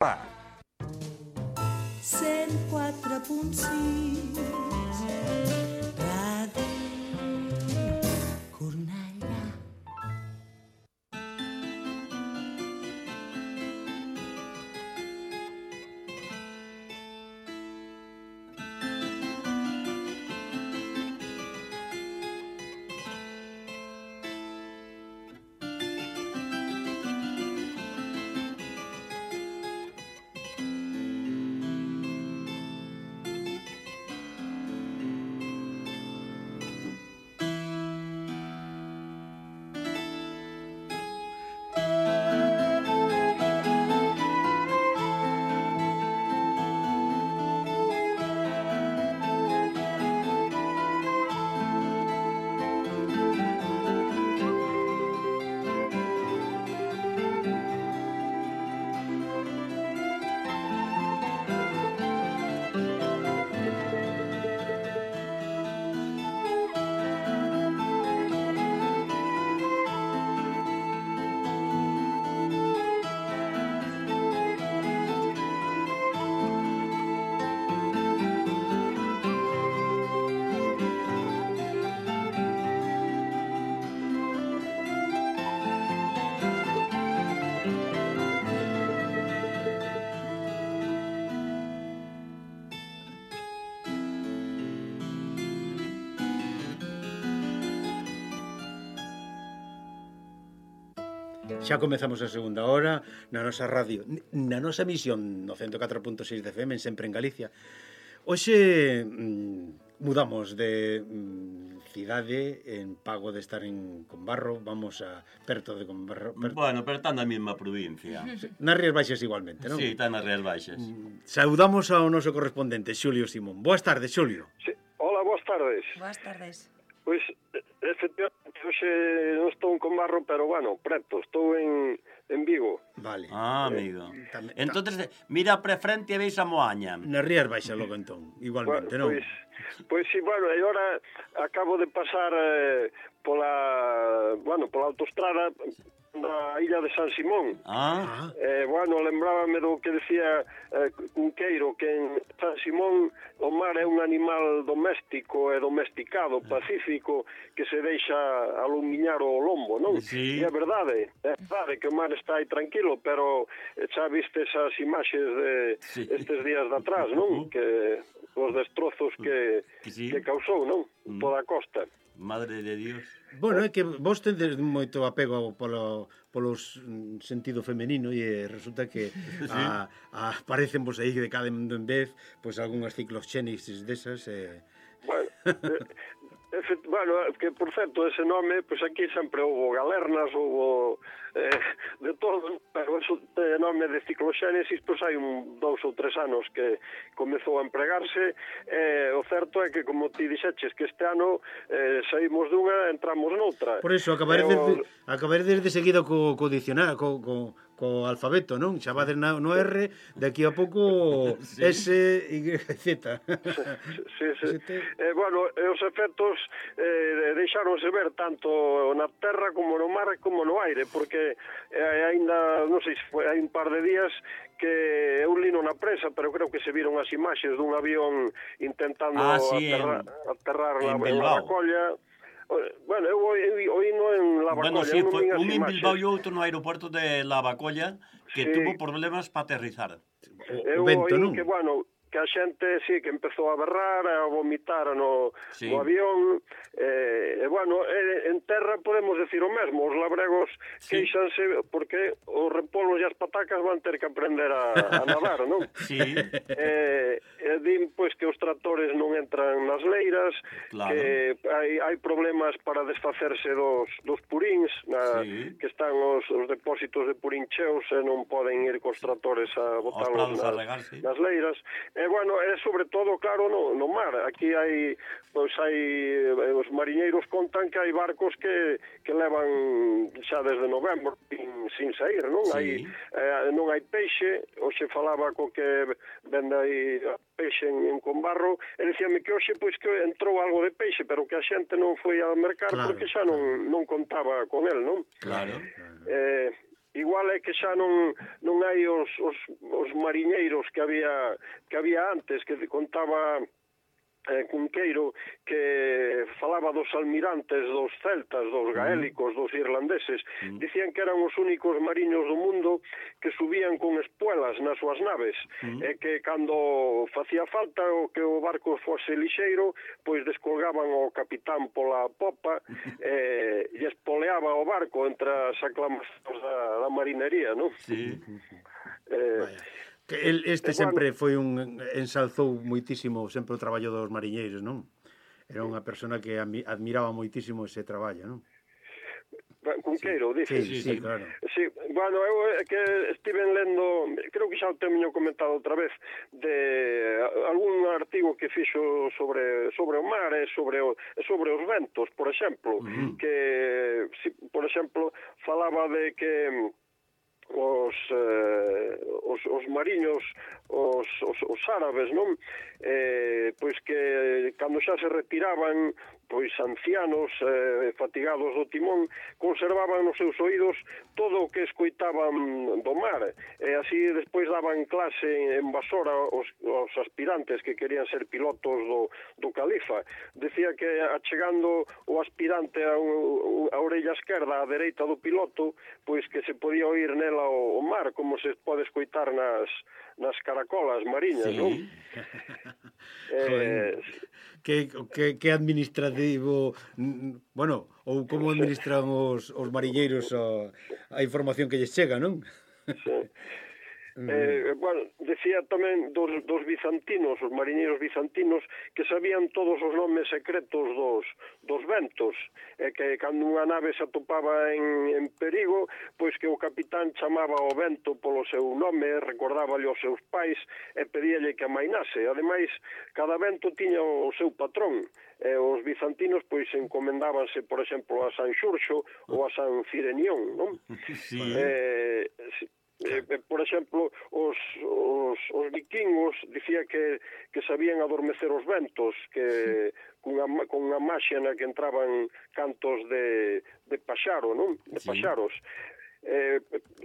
104.6 Radio Cornellà. Xa comezamos a segunda hora na nosa radio, na nosa emisión no 104.6 de FM, sempre en Galicia. Hoxe mudamos de cidade en pago de estar en Combarro, vamos a perto de Combarro. Bueno, pero está na mesma provincia. Nas Rías Baixas igualmente, non? Sí, está nas Rías Baixas. Saudamos ao noso correspondente, Xulio Simón. Boas tardes, Xulio. Sí. Hola, boas tardes. Boas tardes. Pois, efectivamente, hoxe non estou en Combarro, pero, bueno, preto, estou en Vigo. Vale. Amigo. Entonces, mira pre frente e veis a Moaña. Nas Rías Baixas logo entón, igualmente, non? Pois sí, bueno, e agora acabo de pasar pola autostrada na illa de San Simón. Bueno, lembrábame do que decía Cunqueiro, que en San Simón o mar é un animal doméstico e domesticado, pacífico, que se deixa alumiñar o lombo, non? Sí. E é verdade que o mar está aí tranquilo, pero xa viste esas imaxes de estes días de atrás, non? Que os destrozos que causou, non? Toda a costa. Madre de Dios. Bueno, é que vos tendes moito apego polo sentido femenino e resulta que aparecen vos aí de cada en vez pois algunhas cicloxénesis desas Bueno, que por certo, ese nome, pois aquí sempre houve galernas, houve de todo, pero ese nome de cicloxénesis, pois hai 2 ou 3 anos que comezou a empregarse. O certo é que, como ti dixeches, que este ano saímos dunha, entramos noutra. Por iso, acabaredes de seguido co dicionario, co alfabeto, non? Xa vades no R, daqui a pouco S, Y, Z. Sí. Bueno, os efectos deixáronse ver tanto na terra como no mar como no aire, porque ainda, non sei se foi, hai un par de días que eu lino na prensa, pero creo que se viron as imaxes dun avión intentando aterrar na Lavacolla. Bueno, eu oíno en Lavacolla. Bueno, sí, foi un en Bilbao e outro no aeroporto de Lavacolla que tuvo problemas para aterrizar. Eu oí que, bueno, que a xente, sí, que empezou a berrar, a vomitar no avión. Bueno, en terra podemos decir o mesmo. Os labregos queixanse porque os repolos e as patacas van ter que aprender a nadar, non? Sí. Din, pois, que os tractores non entran nas leiras, que hai problemas para desfacerse dos puríns, que están os depósitos de purín cheos e non poden ir cos tractores a botalos nas leiras. Bueno, é sobre todo, claro, no mar. Aquí hai os mariñeiros contan que hai barcos que levan xa desde novembro sin sair, non? Non hai peixe. Hoxe falaba co que vende aí peixe en Combarro, e dicíame que hoxe pois que entrou algo de peixe, pero que a xente non foi ao mercado porque xa non contaba con el, non? Claro. igual é que xa non hai os mariñeiros que había antes, que contaba Cunqueiro, que falaba dos almirantes, dos celtas, dos gaélicos, dos irlandeses. Dicían que eran os únicos mariños do mundo que subían con espuelas nas súas naves, e que cando facía falta o que o barco fose lixeiro, pois descolgaban o capitán pola popa e espoleaba o barco entre as aclamacións da marinería, non? Sí. Este sempre foi ensalzou moitísimo sempre o traballo dos mariñeiros, non? Era unha persona que admiraba moitísimo ese traballo, non? Cunqueiro, dices? Sí, claro. Sí, bueno, eu que estiven lendo, creo que xa o teño comentado outra vez, de algún artigo que fixo sobre o mar e sobre os ventos, por exemplo, que, por exemplo, falaba de que os mariños, os árabes, non? Pois que cando xa se retiraban, pois ancianos, fatigados do timón, conservaban nos seus oídos todo o que escoitaban do mar, e así despois daban clase en Basora os aspirantes que querían ser pilotos do califa. Decía que achegando o aspirante a orella esquerda, a dereita do piloto, pois que se podía oír nela o mar, como se pode escoitar nas caracolas mariñas, non? Que administrativo, bueno, ou como administran os mariñeiros a información que lles chega, non? Sí. Bueno, decía tamén dos bizantinos, os mariñeiros bizantinos, que sabían todos os nomes secretos dos ventos, e que cando unha nave se atopaba en perigo, pois que o capitán chamaba o vento polo seu nome, recordáballe aos seus pais e pedíalle que amainase. Ademais, cada vento tiña o seu patrón, e os bizantinos pois encomendábanse, por exemplo, a San Xurxo ou a San Cirenión, non? Sí. Por exemplo, os vikingos dicía que sabían adormecer os ventos, que con unha maxia na que entraban cantos de paxaro, non? De paxaros.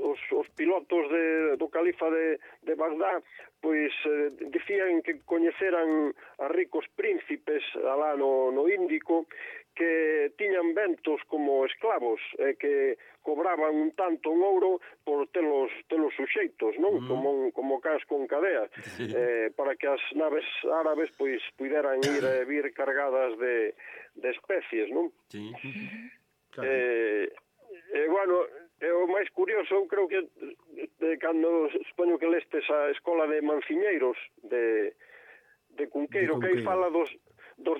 Os pilotos do califa de Bagdad pois dicían que coñeceran a ricos príncipes alá no Índico, que tiñan ventos como esclavos, que cobraban un tanto en ouro por telos suxeitos, non? Como cans con cadea, para que as naves árabes pois puderan vir cargadas de especies, non? Sí. Bueno, o máis curioso, eu creo que cando supoño que lestes a Escola de Manciñeiros de Cunqueiro, que aí fala dos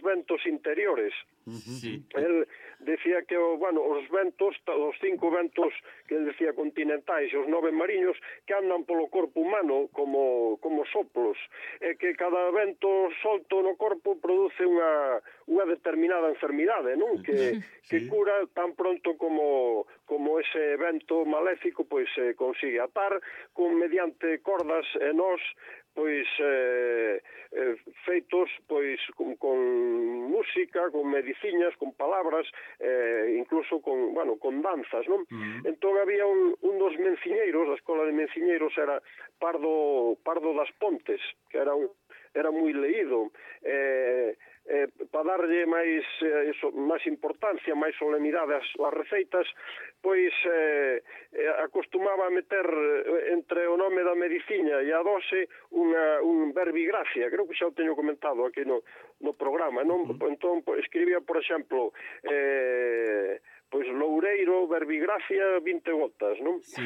ventos interiores. Sí. El decía que os ventos, os 5 ventos que ele decía continentais e os 9 mariños, que andan polo corpo humano como soplos, e que cada vento solto no corpo produce unha determinada enfermidade, non? Que cura tan pronto como ese vento maléfico pois se consigue atar mediante cordas e nós pois feitos pois con música, con mediciñas, con palabras, incluso con danzas, non? Entón había un dos menciñeiros, da Escola de Menciñeiros era Pardo das Pontes, que era moi leído, para darlle máis importancia, máis solemnidade ás receitas, pois acostumaba a meter entre o nome da mediciña e a dose un verbigracia, creo que xa o teño comentado aquí no programa, non? Entón escribía, por exemplo, pois loureiro, verbigracia, 20 gotas, non? Sí.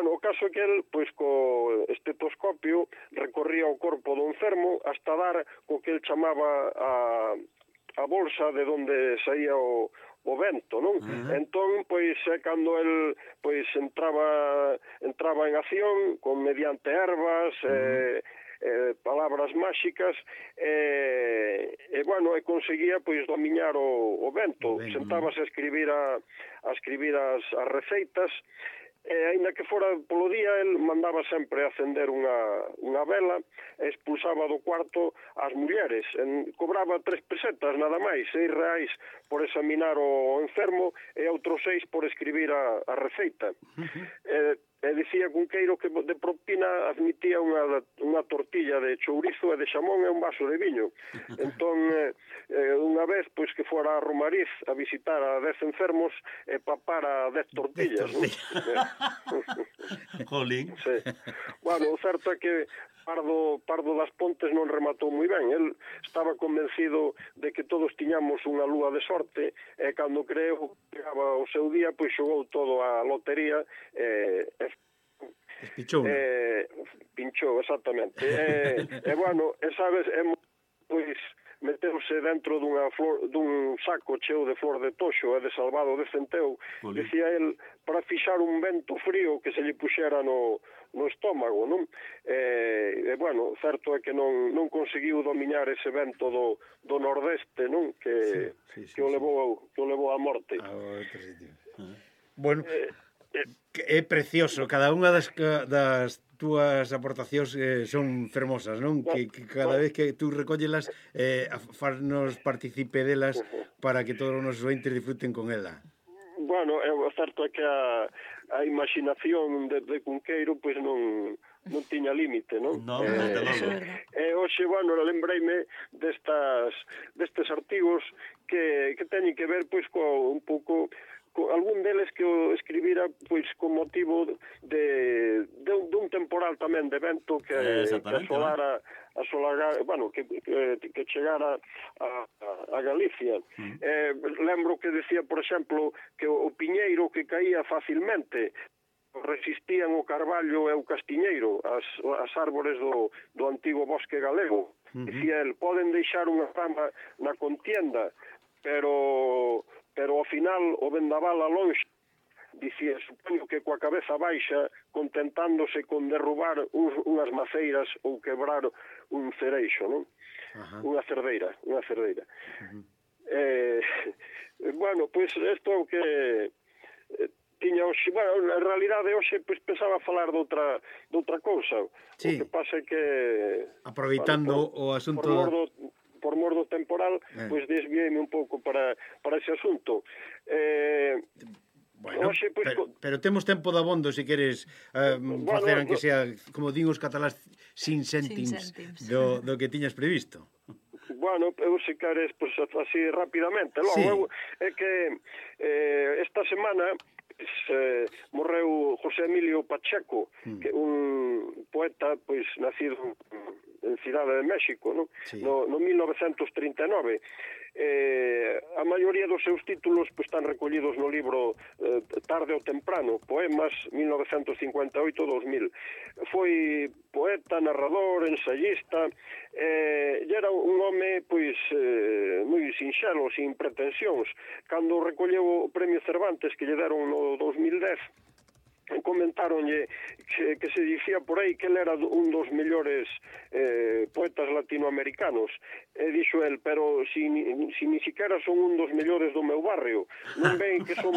O caso é que el, pois, co estetoscopio recorría o corpo do enfermo hasta dar co que el chamaba a bolsa de onde saía o vento, non? Entón, pois, cando el pois entraba en acción mediante ervas, palabras máxicas, e conseguía pois dominar o vento. Sentábase a escribir as receitas, aínda que fora polo día, el mandaba sempre acender unha vela e expulsaba do cuarto as mulleres. Cobraba 3 pesetas, nada máis, 6 reais por examinar o enfermo e outros 6 por escribir a receita. E dicía Cunqueiro que de propina admitía unha tortilla de chourizo e de xamón e un vaso de viño. Entón, unha vez, pois que fora a Romariz a visitar a 10 enfermos e papara 10 tortillas. Jolín. Sí. Bueno, o certo é que Pardo das Pontes non rematou moi ben. El estaba convencido de que todos tiñamos unha lúa de sorte e cando creo que chegaba o seu día, pois xogou todo a lotería e pinchou, exactamente. E bueno, sabes, pois meteuse dentro dun saco cheo de flor de toxo e de salvado de centeo, dicía el, para fixar un vento frío que se lle puxera no estómago, non? E bueno, certo é que non conseguiu dominar ese vento do nordeste, non? Que o levou á morte. Bueno, é precioso, cada unha das túas aportacións son fermosas, non? Que cada vez que tú recóllelas farnos partícipe delas para que todos os nosos ointes disfruten con ela. Bueno, o certo é que a imaginación de Cunqueiro pois non tiña límite, non? Non, desde logo. E hoxe, bueno, lembreime destes artigos que teñen que ver pois un pouco algún deles que o escribira pois con motivo dun temporal tamén de vento que asolara bueno, que chegara a Galicia. Lembro que decía, por exemplo, que o piñeiro que caía facilmente resistían o carballo e o castiñeiro, as árbores do antigo bosque galego. Dicía el, poden deixar unha rama na contienda, pero ao final o vendaval a longe, dicía, supoño que coa cabeza baixa, contentándose con derrubar unhas maceiras ou quebrar un cereixo, non? Unha cerdeira. Bueno, pois isto é o que tiña hoxe, bueno, en realidade hoxe pois pensaba falar de outra cousa. Sí. O que pasa é que aproveitando o asunto por mor do temporal, pois desviéime un pouco para ese asunto. Bueno, pero temos tempo de abondo se queres facer, aunque sea, como din os catalás, sin céntims do que tiñas previsto. Bueno, eu se queres, pois, así rapidamente. Logo, é que esta semana morreu José Emilio Pacheco, que un poeta pois nacido en Cidade de México, no 1939. A maioría dos seus títulos pois, están recollidos no libro Tarde ou Temprano, Poemas 1958-2000. Foi poeta, narrador, ensayista, e era un home pois moi sinxelo, sin pretensións. Cando recolleu o Premio Cervantes que lle deron no 2010, comentaronlle que se dicía por aí que ele era un dos mellores poetas latinoamericanos, e dixo el, pero si ni siquiera son un dos mellores do meu barrio, non ven que son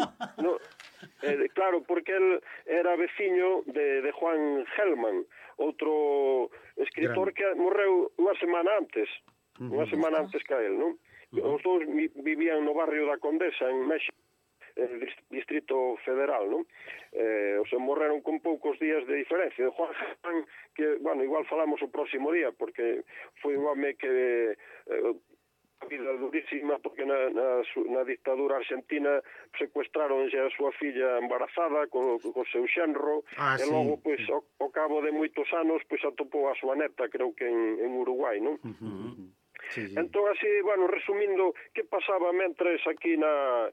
claro, porque el era veciño de Juan Gelman, outro escritor que morreu unha semana antes que a el, non? Os dous vivían no barrio da Condesa en México, Distrito Federal, non? O sea, morreron con poucos días de diferencia. De Juan Gelman, que, bueno, igual falamos o próximo día, porque foi un home que a vida durísima, porque na dictadura argentina secuestraron a súa filla embarazada co seu xenro, e logo, pois, ao cabo de moitos anos, pois, atopou a súa neta, creo que en Uruguai, non? Entón, así, bueno, resumindo, que pasaba mentres aquí na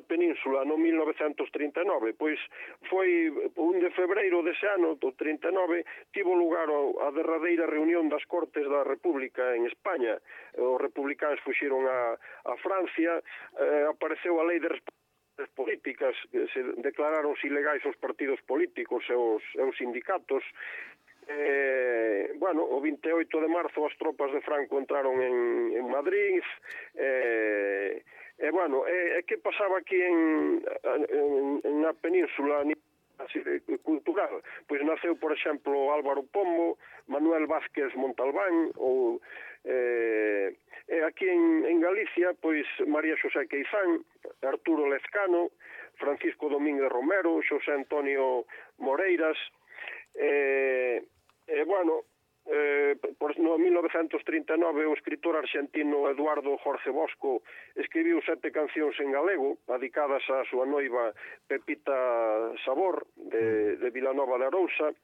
península no 1939? Pois foi 1 de febreiro dese ano, do 39, tivo lugar a derradeira reunión das Cortes da República en España. Os republicanos fuxiron a Francia, apareceu a lei de políticas, que se declararon ilegais os partidos políticos e os sindicatos. Bueno, o 28 de marzo as tropas de Franco entraron en Madrid, bueno, que pasaba aquí na península? así cultural. Pois naceu, por exemplo, Álvaro Pombo, Manuel Vázquez Montalbán, ou aquí en Galicia, pois María Xosé Queizán, Arturo Lezcano, Francisco Domínguez Romero, Xosé Antonio Moreiras, bueno, no 1939 o escritor argentino Eduardo Jorge Bosco escribiu 7 cancións en galego dedicadas á súa noiva Pepita Sabor de Vilanova de Arousa.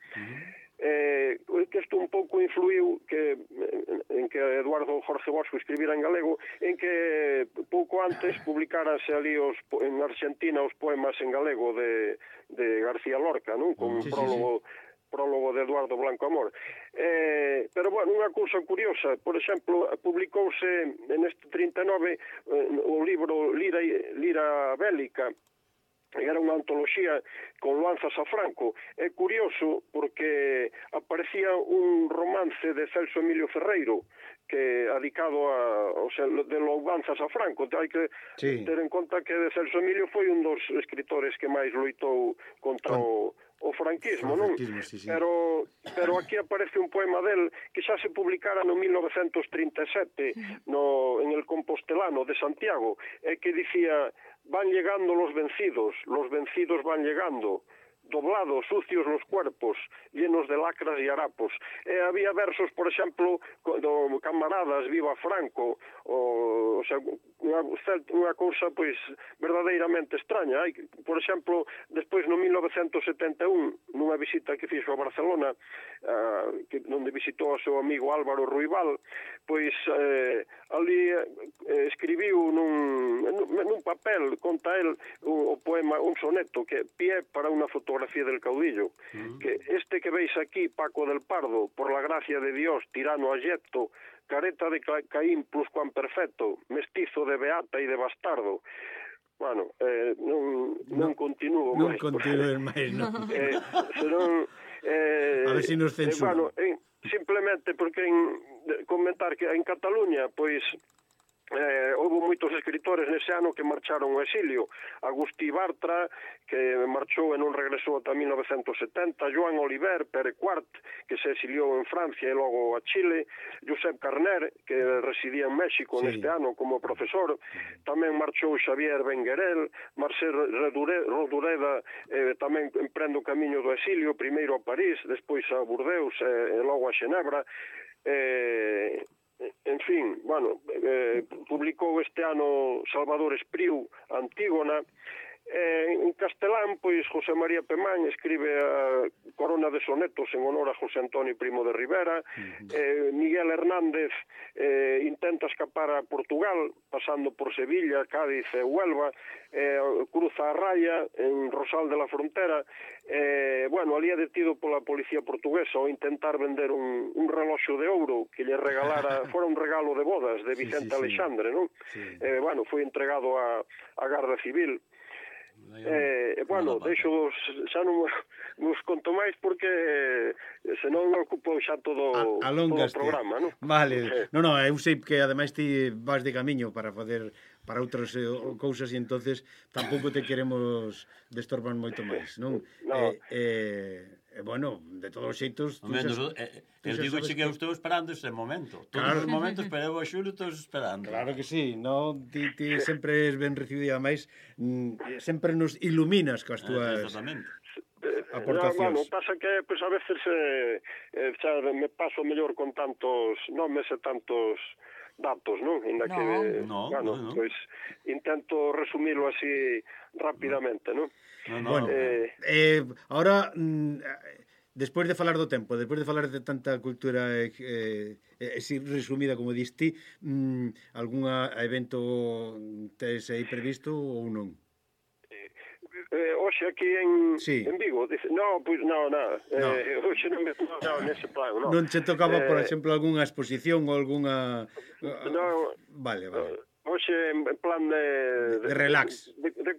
Que isto un pouco influiu en que Eduardo Jorge Bosco escribira en galego, en que pouco antes publicáranse ali en Argentina os poemas en galego de García Lorca, non? Con un prólogo de Eduardo Blanco Amor. Pero, bueno, unha cousa curiosa, por exemplo, publicouse neste 39 o libro Lira Bélica, era unha antoloxía con lanzas a Franco. É curioso porque aparecía un romance de Celso Emilio Ferreiro que dedicado de louvanzas a Franco. Hai que ter en conta que Celso Emilio foi un dos escritores que máis loitou contra o franquismo, non? Pero aquí aparece un poema del que xa se publicara no 1937 en el Compostelano de Santiago, que dicía: van llegando los vencidos van llegando, doblados, sucios los cuerpos, llenos de lacras y harapos. Había versos, por exemplo, do Camaradas, Viva Franco, o sea, unha cousa, pois, verdadeiramente extraña. Por exemplo, despois no 1971, nunha visita que fixo a Barcelona, onde visitou o seu amigo Álvaro Ruibal, pois ali escribiu nun papel, conta el, o poema, un soneto, que Pie para unha fotografía del caudillo, que este que veis aquí, Paco del Pardo, por la gracia de Dios, tirano ayecto, careta de Caín pluscuamperfecto, mestizo de beata e de bastardo. Bueno, non continúo máis. Non continúes máis, non. Senón... A ver se nos censuran. Bueno, simplemente porque comentar que en Cataluña, pois, houve moitos escritores nese ano que marcharon ao exilio. Agustí Bartra, que marchou e non regresou ata 1970, Joan Oliver, Pere Quart, que se exiliou en Francia e logo a Chile, Josep Carner, que residía en México neste ano como profesor, tamén marchou Xavier Benguerel, Marcel Rodureda tamén emprende o camiño do exilio, primeiro a París, despois a Burdeos e logo a Xenebra. En fin, bueno, publicou este ano Salvador Espriu, Antígona. En castelán, pois, José María Pemán escribe a corona de sonetos en honor a José Antonio Primo de Rivera. Miguel Hernández intenta escapar a Portugal, pasando por Sevilla, Cádiz e Huelva, cruza a raya en Rosal de la Frontera. Bueno, ali é detido pola policía portuguesa ao intentar vender un reloxo de ouro que lle regalara, fora un regalo de bodas de Vicente Alexandre, non? Bueno, foi entregado a Garda Civil. Bueno, deixo xa non vos conto máis porque senón ocupo xa todo o programa, non? Vale, non, eu sei que ademais ti vas de camiño para facer para outras cousas e entonces tampouco te queremos destorbar moito máis, non? Bueno, de todos os xeitos... Eu digo que eu estou esperando ese momento. Todos os momentos, pero eu a Xulio estou esperando. Claro que sí, no? Ti sempre es ben recibido e ademais sempre nos iluminas coas túas aportacións. Bueno, pasa que pues, a veces xa me paso mellor con tantos nomes e tantos datos, non? Bueno, pois intento resumilo así rapidamente, non? Bueno, ahora, despois de falar do tempo, despois de falar de tanta cultura resumida como diste, algún evento tes aí previsto ou non? Hoxe aquí en Vigo, dice, pois nada. Hoxe non me nese plan, non. Non che tocaba, por exemplo, algunha exposición ou algunha... Vale. Hoxe en plan de relax. De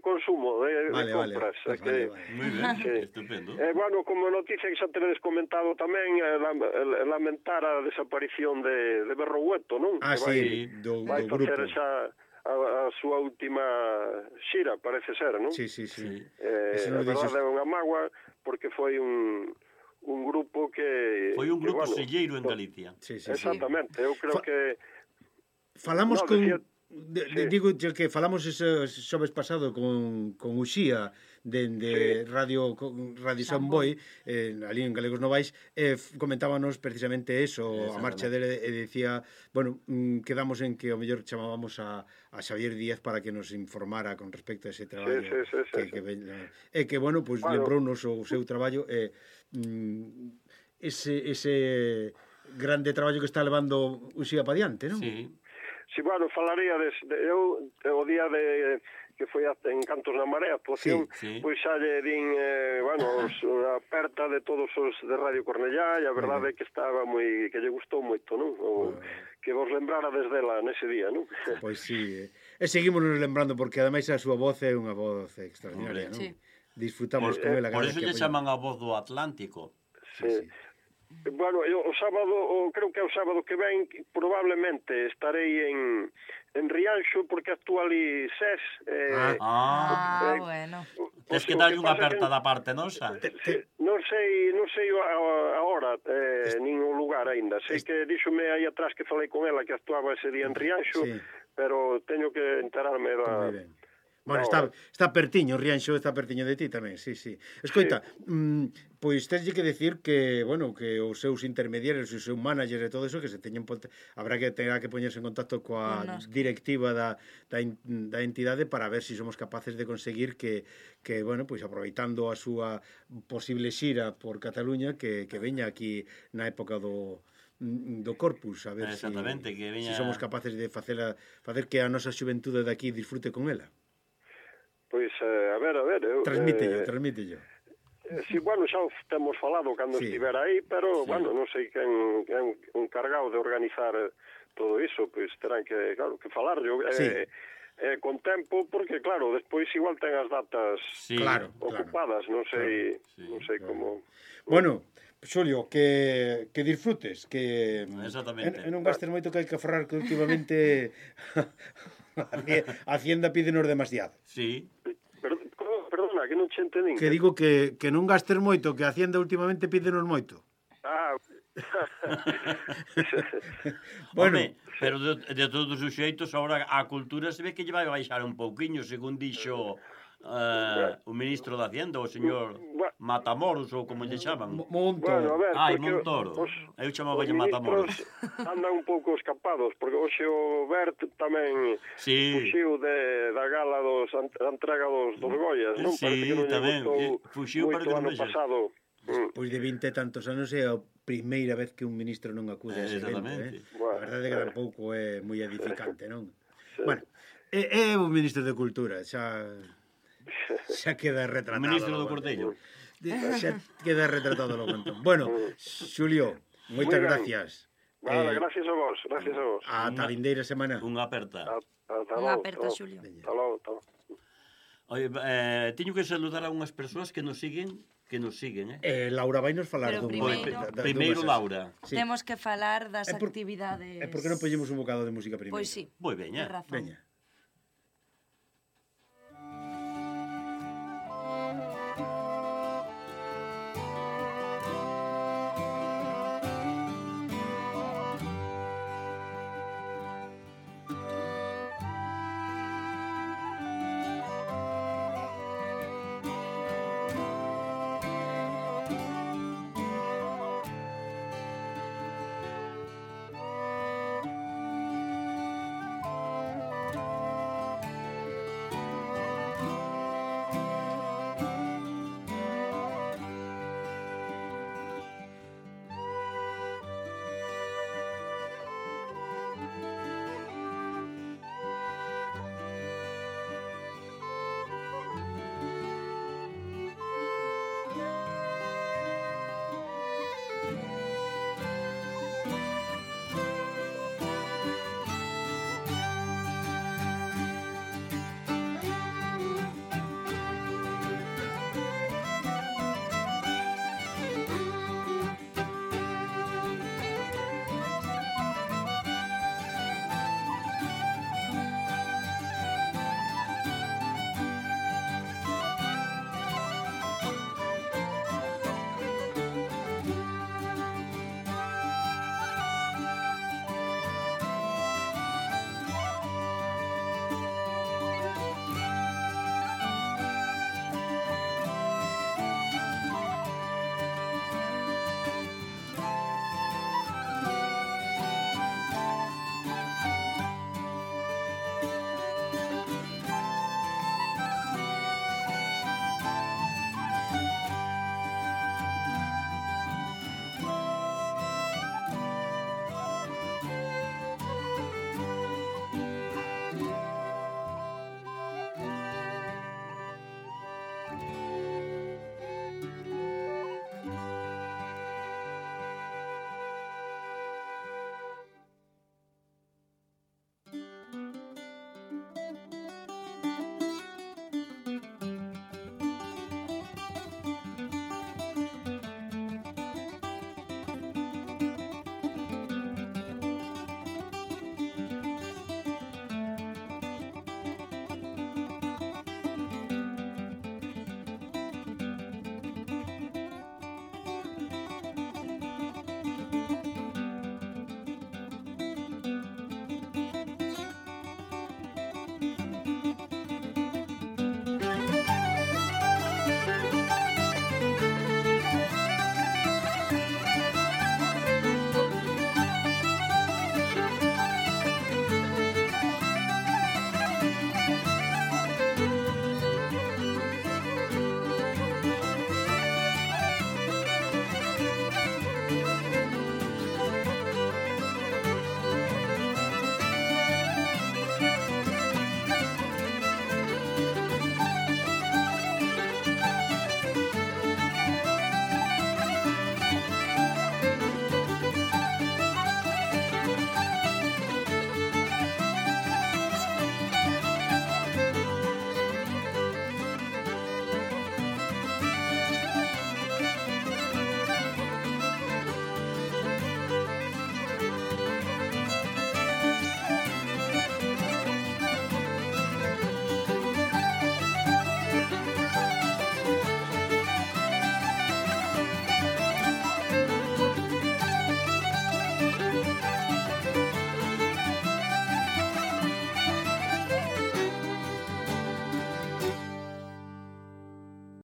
consumo, de compras. Vale. Moi ben, estupendo. Bueno, como noticia que xa tenedes comentado tamén, lamentar a desaparición de Berroueto, non? Sí, do grupo. Vai facer xa a súa última xira, parece ser, non? Sí, sí, sí. A verdade é unha mágoa porque foi un grupo que... Foi un grupo bueno, selleiro en Galicia. Sí, sí, exactamente, eu creo que... Falamos No, con... decía- Digo que falamos ese xoves pasado con Uxía de Radio Samboy, ali en Galegos Novais, comentábamos precisamente eso, a marcha dele, e decía, bueno, quedamos en que o mellor chamábamos a Xavier Díaz para que nos informara con respecto a ese traballo que bueno, pois lembrounos o seu traballo ese grande traballo que está levando Uxía pa diante, non? Sí. Si, bueno, falaría eu o día que foi en Cantos na Marea, actuación, pois xa lle din, bueno, a aperta de todos os de Radio Cornellá, e a verdade é que estaba que lle gustou moito, non? Que vos lembrara desde ela nese día, non? Pois sí, e seguimos nos lembrando, porque ademais a súa voz é unha voz extraordinaria, non? Sí. Disfrutamos con ela. Por eso lle chaman a voz do Atlántico. Sí. Bueno, eu o sábado, creo que é o sábado que ven, probablemente estarei en Rianxo, porque actúa ali SES. Bueno. Tes que darlle unha aperta da parte nosa. Non sei a hora, nin o lugar aínda. Sei que díxome aí atrás que falei con ela que actuaba ese día en Rianxo, pero teño que enterarme da... Moi ben. Bueno, está pertiño, Rianxo está pertiño de ti tamén, sí. Escoita, pois teslle que decir que, bueno, que os seus intermediarios, o seu manager e todo eso, que se teñen habrá que poñerse en contacto coa directiva da entidade para ver se somos capaces de conseguir que bueno, pois aproveitando a súa posible xira por Cataluña, que veña aquí na época do Corpus, a ver se somos capaces de facer que a nosa xuventude de aquí disfrute con ela. Pois, a ver... Transmítelo. Sí, bueno, xa o temos falado cando estiver aí, pero, bueno, non sei quen é un cargado de organizar todo iso, pois terán que, claro, que falarlo con tempo, porque, claro, despois igual ten as datas ocupadas, non sei como... Bueno, Xulio, que disfrutes, que non gastes moito, que hai que aforrar, que últimamente a Hacienda pídenos demasiado. Sí. Perdona, que non che entendín. Que digo que non gastes moito, que a Hacienda últimamente pídenos moito. Bueno, pero de todos os xeitos, agora a cultura se ve que lle vai baixar un pouquiño, según dixo o ministro da Hacienda, o señor Matamoros, ou como lle chaman. Montoro. Montoro. Eu chamaba-lle Matamoros. Andan un pouco escapados, porque hoxe o Bert tamén fuxiu da gala da entrega dos Goyas, non? Parece que non lle gustou moito ano pasado. Pois de 20 e tantos anos é a primeira vez que un ministro non acude a ese evento, A verdade é que tampouco é moi edificante, non? Bueno, é o ministro de Cultura, xa queda retratado. O ministro do Cortello. Xa queda retratado logo entón. Bueno, Xulio, moitas gracias. Vale, gracias a vos. Ata a vindeira semana. Unha aperta. Unha aperta, Xulio. Ata logo. Oye, teño que saludar a unhas persoas que nos siguen, Laura vai nos falar dun primeiro Laura. Temos que falar das actividades. E por que non poñemos un bocado de música primeiro? Pois sí. Moi veña. Veña.